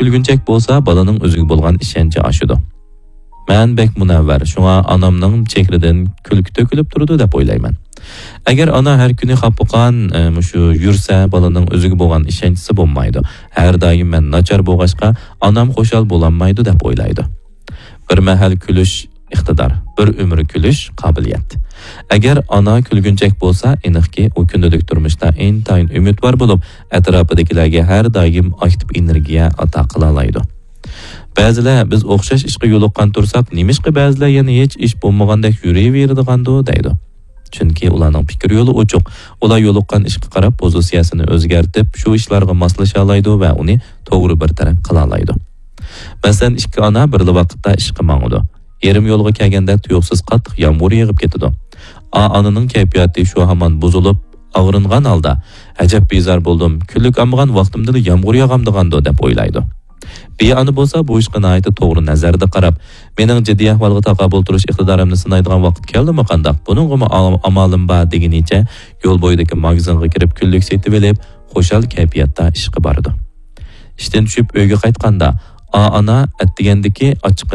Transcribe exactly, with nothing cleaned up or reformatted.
كۈلگۈنچەك بولسا، بالىنىڭ ئۆزىگە بولغان ئىشەنچى ئاشىدۇ. مەن بەك مۇنەۋۋەر، شۇڭا ئانامنىڭ چېھرىدىن كۈلكە تۆكۈلۈپ تۇرىدۇ دەپ ئويلايمەن. ئەگەر ئانا ھەر كۈنى خاپا-خان، ئە، مۇشۇ يۈرسە، بالىنىڭ ئۆزىگە بولغان ئىشەنچىسى بولمايدۇ. ھەر دائىم مەن ناچار بولغاچقا، ئانام خۇشال بولالمايدۇ دەپ ئويلايدۇ. بىر مەھەل كۈلۈش ئىقتىدار، بىر ئۆمۈر كۈلۈش قابىلىيەت. ئەگەر ئانا كۈلگۈنچەك بولسا، ئېنىقكى، ئۇ كۈندىلىك تۇرمۇشتا ئىنتايىن ئۈمىدۋار بولۇپ، ئەتراپىدىكىلەرگە ھەر دائىم ئاكتىپ ئېنېرگىيە ئاتا قىلالايدۇ. بەزىلەر، «بىز ئوخشاش ئىشقا يولۇققان تۇرساق، نېمىشقا بەزىلەر يەنە ھېچ ئىش بولمىغاندەك يۈرۈۋېرىدىغاندۇ؟» دەيدۇ. چۈنكى ئۇلارنىڭ پىكىر يولى ئوچۇق. ئۇلار يولۇققان ئىشقا قاراپ پوزىتسىيەسىنى ئۆزگەرتىپ، شۇ ئىشلارغا ماسلىشالايدۇ ۋە ئۇنى توغرا بىر تەرەپ قىلالايدۇ. مەسىلەن، ئىككى ئانا بىرلا ۋاقىتتا ئىشقا ماڭىدۇ. يېرىم يولغا كەلگەندە تۇيۇقسىز قاتتىق يامغۇر يېغىپ كېتىدۇ. ئا ئانىنىڭ كەيپىياتى شۇ ھامان بۇزۇلۇپ، ئاغرىنغان ھالدا، «ئەجەب بىزار بولدۇم، كۈنلۈك ئالمىغان ۋاقتىمدىلا يامغۇر ياغامدىغاندۇ» دەپ ئويلايدۇ. بى ئانا بولسا بۇ ئىشقا ناھايىتى توغرا نەزەردە قاراپ، «مېنىڭ جىددىي ئەھۋالغا تاقابىل تۇرۇش ئىقتىدارىمنى سىنايدىغان ۋاقىت كەلدىمۇ قانداق؟ بۇنىڭغىمۇ ئا-، ئامالىم بار» دېگىنىچە يول بويىدىكى ماگىزىنغا كىرىپ كۈنلۈك سېتىۋېلىپ، خۇشال كەيپىياتتا ئىشقا بارىدۇ. ئىشتىن چۈشۈپ ئۆيگە قايتقاندا، ئا ئانا ئەتىگەندىكى ئاچچىقىنى